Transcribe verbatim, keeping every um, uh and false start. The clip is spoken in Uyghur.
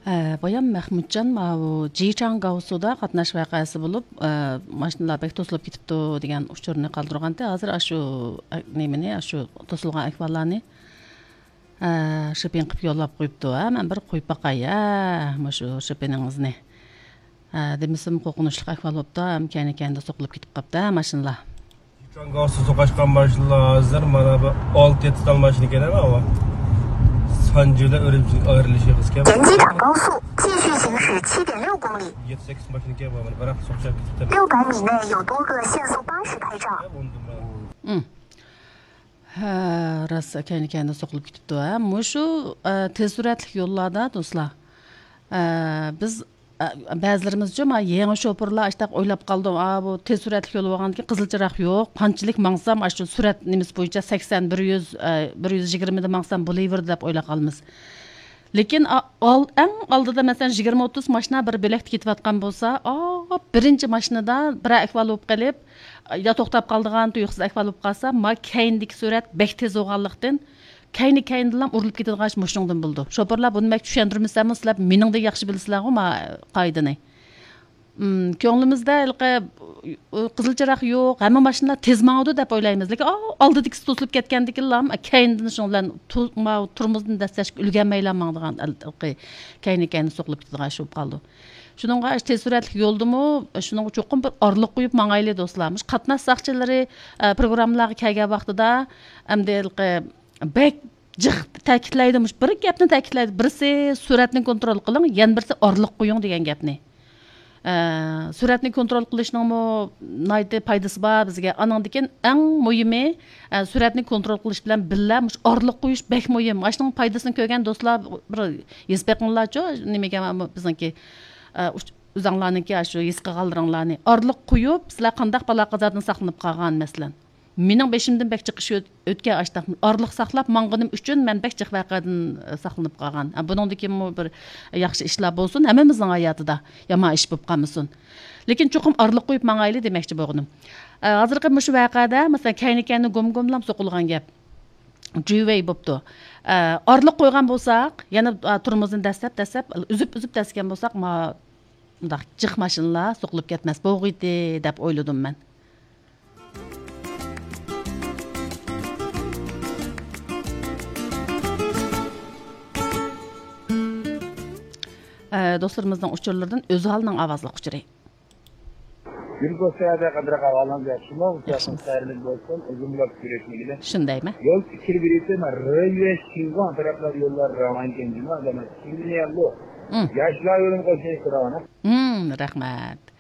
ئە، بايام مەخمۇتجان ماۋۇ جىچاڭ گاۋسۇدا قاتناش ۋەقەسى بولۇپ، ئە، ماشىنىلار بەك توسۇلۇپ كېتىپتۇ دېگەن ئۇچۇرنى قالدۇرغانتى. ھازىر ئاشۇ، ئە، نېمىنى، ئاشۇ توسۇلغان ئەھۋاللارنى، ئە، شىپىڭ قىلىپ يوللاپ قويۇپتۇ. ھە، مەن بىر قويۇپ باقاي، ھە، مۇشۇ شىپىنىڭىزنى. ھە، دېمىسىمۇ قورقۇنچلۇق ئەھۋال بوپتۇ، ھەم كەينى-كەينىدە سوقۇلۇپ كېتىپ قاپتۇ، ھە، ماشىنىلار. جاڭگاۋسۇ توقاشقان ماشىنىلار ھازىر مانا بۇ ئالتە يەتتە تال ماشىنا ئىكەن، ھە، ئاۋۇ. سانجىدا ئۈرۈمچىدىن ئايرىلىشى قىز ئىكەن. يەتتە سەككىز ماشىنا ئىكەن، بۇ مانا بىراق سوقۇشۇپ كېتىپتۇ. ھە، بۇندىن بۇرۇن. ھە، راست، كەينى-كەينىدە سوقۇلۇپ كېتىپتۇ، ھە. مۇشۇ، ئە، تېز سۈرئەتلىك يوللاردا، دوستلار، ئە، بىز ئە، بەزىلىرىمىزچۇ، ما، يېڭى شوپۇرلار ئاشتاق ئويلاپ قالدى، ئا، بۇ تېز سۈرئەتلىك يول بولغاندىكىن قىزىل چىراغ يوق، قانچىلىك ماڭسام، ئاشۇ سۈرئەت نېمىسى بويىچە سەكسەن، بىر يۈز، ئە، بىر يۈز يىگىرمىدە ماڭسام بولۇۋېرىدۇ دەپ ئويلاپ قالىمىز. لېكىن، ئا، ئال-، ئەڭ ئالدىدا، مەسىلەن، يىگىرمە ئوتتۇز ماشىنا بىر بۆلەكتە كېتىۋاتقان بولسا، ئا، بىرىنچى ماشىنىدا بىرەر ئەھۋال بولۇپ قېلىپ، يا توختاپ قالىدىغان تۇيۇقسىز ئەھۋال بولۇپ قالسا، ما، كەينىدىكى سۈرئەت بەك تېز بولغانلىقتىن، كەينى-كەينىدىنلا ئۇرۇلۇپ كېتىدىغان ئىش مۇشۇنىڭدىن بولىدۇ. شوپۇرلار بۇنى مەن چۈشەندۈرمىسەممۇ، سىلەر مېنىڭدىن ياخشى بىلىسىلەرغۇ، ما، قائىدىنى. ئىم، كۆڭلىمىزدە ھېلىقى، ئۇ، قىزىل چىراغ يوق، ھەممە ماشىنىلار تېز ماڭىدۇ دەپ ئويلايمىز. لېكىن، ئا، ئالدىدىكىسى توسۇلۇپ كەتكەندىكىنلا، كەينىدىن شۇنىڭ بىلەن تو-، ما-، تورمۇزدىن دەسسەشكە ئۈلگەرمەيلا ماڭىدىغان ھېلىقى كەينى-كەينى سوقۇلۇپ كېتىدىغان ئىش بولۇپ قالىدۇ. شۇنىڭغا تېز سۈرئەتلىك يولدىمۇ، شۇنىڭغا چوقۇم بىر ئارىلىق قويۇپ ماڭايلى، دوستلار. مۇشۇ قاتناش ساقچىلىرى، ئە، پروگراممىلارغا كەلگەن ۋاقتىدا، ئەمدى ھېلىقى بەك جىق تەكىتلەيدۇ، مۇشۇ بىر گەپنى تەكىتلەيدۇ. بىرسى سۈرئەتنى كونترول قىلىڭ، يەنە بىرسى ئارىلىق قويۇڭ دېگەن گەپنى. ئە، سۈرئەتنى كونترول قىلىشنىڭمۇ ناھايىتى پايدىسى بار بىزگە. ئانىڭدىن كېيىن ئەڭ مۇھىمى، ئە، سۈرئەتنى كونترول قىلىش بىلەن بىللە مۇشۇ ئارىلىق قويۇش بەك مۇھىم. مۇشۇنىڭ پايدىسىنى كۆرگەن دوستلار بىر ھېس بېقىڭلارچۇ، نېمىگە بىزنىڭكى، ئە، ئۆزۈڭلارنىڭكى شۇ ھېس قىلغانلىرىڭلارنى. ئارىلىق قويۇپ، سىلەر قانداق بالا-قازادىن ساقلىنىپ قالغان، مەسىلەن. مېنىڭ بېشىمدىن بەك جىق ئىش ئۆت-، ئۆتكەن ئاشتاق. ئارىلىق ساقلاپ ماڭغىنىم ئۈچۈن مەن بەك جىق ۋەقەدىن، ئە، ساقلىنىپ قالغان. ئە، بۇنىڭدىكىمۇ بىر ياخشى ئىشلار بولسۇن، ھەممىمىزنىڭ ھاياتىدا يامان ئىش بولۇپ قالمىسۇن. لېكىن چوقۇم ئارىلىق قويۇپ ماڭايلى دېمەكچى بولغىنىم. ئە، ھازىرقى مۇشۇ ۋەقەدە، مەسىلەن، كەينى-كەينى گوم-گوملام سوقۇلغان گەپ. جۈۋەي بوپتۇ. ئە، ئارىلىق قويغان بولساق، يەنە، ئا، تورمۇزنى دەسسەپ، دەسسەپ، ئۈزۈپ، ئۈزۈپ دەسكەن بولساق، ما-، مۇنداق جىق ماشىنىلار سوقۇلۇپ كەتمەس بولغىيتى دەپ ئويلىدىم مەن. ئە، دوستلىرىمىزنىڭ ئۇچۇرلىرىدىن ئۆزھالنىڭ ئاۋازلىق ئۇچۇرى. گۈل بولسا ھەدە قەدرى قاغالان ياخشىمۇ؟ ياخشىمۇ؟ سەرلىك بولسۇن، ئۇزۇنلاپ كۆرۈشمىگىلى. شۇندايمۇ؟ يول پىكىر بېرىسە، مەن رېيۋەش چىزغان تەرەپلەر يوللار راۋان ئىكەن جۇما، ئادەم كىملىيەللۇ؟ مم. ياشلار يولىنى قوشۇن سوراۋانا. مم، رەھمەت.